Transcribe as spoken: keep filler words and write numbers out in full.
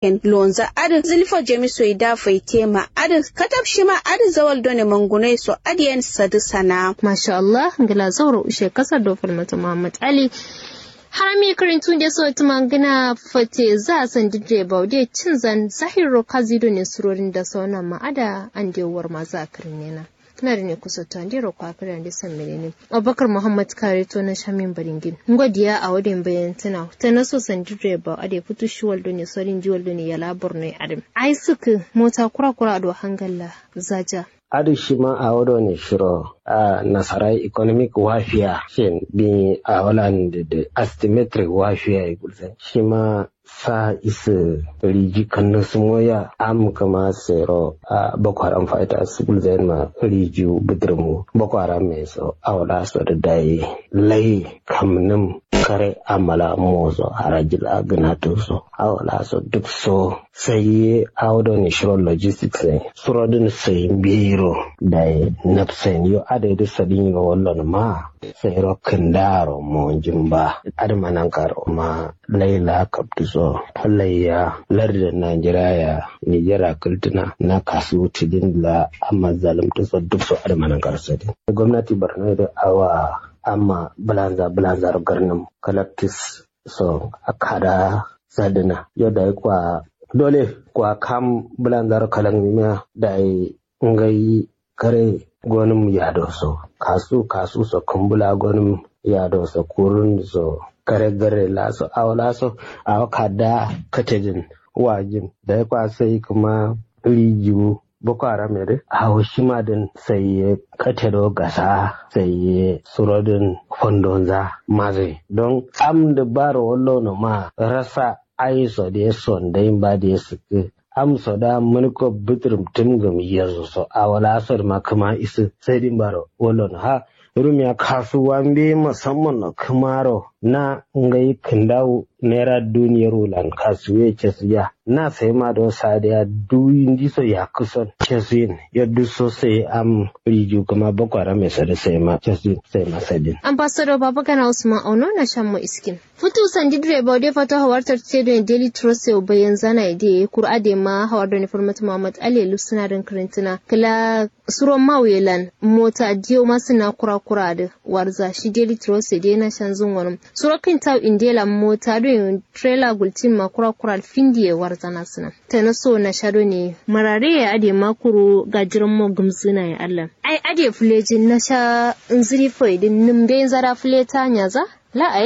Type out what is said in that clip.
yen lonza adǝ zǝlifo jami soyi da faite ma adǝ katab shima adǝ zawal done mangunoi so adǝ yen sadǝ sana'a. Masha allah. Ngla zauro ushe kasar do falmata muhammad ali. Harami kǝrintu nde so tǝma ngǝna fate za sandidde baude cinzan zahirro kazi done surorin da sauna ma ada ande warma za kǝrin yena. Kǝna done kusoto andero kwa kǝri ande sammene ne. Abubakar muhammad kare to na shamin baringin ngo diya awo den bayan tǝna tana so sandidde bau ade futu shiwal done sorin jiwal done yala borno adǝm ai sǝkǝ mota kura kura do hangalla zaja. Adǝ shima awo done shiro a nasarai economic warfare shin bi awo lan dede asymmetric warfare gulzan shima sa isǝ riji kannǝ sǝmoya am kǝma sero a boko haram fighters gulzain ma riji bǝdǝrmu boko haram me so awo la so dǝ dai lai kamnǝm kare amala moso harajil agǝnatǝ so awo la so duk so sai ye awo done shiro logistics ne suro dǝn sai mbiro dai nafsain yo adai dǝ sadin yo wallon ma sai ro kǝndaro monjin ba adǝ ma nankaro ma laila kaptǝ so laiya lardǝ najeriya ya nijera kǝltǝna na kasu tǝdin la amma zalǝmtǝ so duk so adǝ ma nankaro sadin gomnati borno dǝ awa amma bǝlanza bǝlanzaro garnǝm kalaktis so akada sadǝna yo dai kwa dole kwa kam bǝlanzaro kalaknimiya dai ngai kare gonǝm yado so kasu kasu so kǝmbula gonǝm yado so kurun so kare gare la so awo la so awo kada katedin wajin dai kwa sai kǝma rijiwu boko haram yadǝ awo shima dǝn sai ye katedo gasa sai ye surodin fondonza mazai don am dǝ baro wallo no ma rasa ai so dǝ ye sondai mba dǝ ye sǝkkǝ am so da mǝnǝko bǝtǝrǝm tǝmgǝm yezu so awo la so dǝ ma kǝma isǝ sai dǝ mbaro wallo no ha rumiya kasuwa mbeyi musamman no kǝmaro na ngai kǝndawu naira duniyar wulan kasuwe cesuya na sai ma do sadiya duwi ndiso yakkǝ son cesuyin yaddu so sai am riju kǝma boko haram ye so dǝ sai ma cesuyin sai ma sadin. Ambassador babagana usman auno na shammo iskin futu sandi direba wade fato hawartar te done daily trust yau bayan zana ya de kura de ma hawar done farmata muhammad ali lufsuna don karantuna kala suro mawuye lan mota diyo ma sǝna kura kura dǝ warza shi daily trust ya de na shanzun wonum suro kǝn tau inde lan mota done trailer gultin ma kura kura findi ye warzana sǝna tana so na sha done marare ya ade ma kuru gajiran mo gǝmzǝna ya allan ai ade fulejin na sha nzǝri fai dǝn nǝm dai nzara fuleta nyaza la ai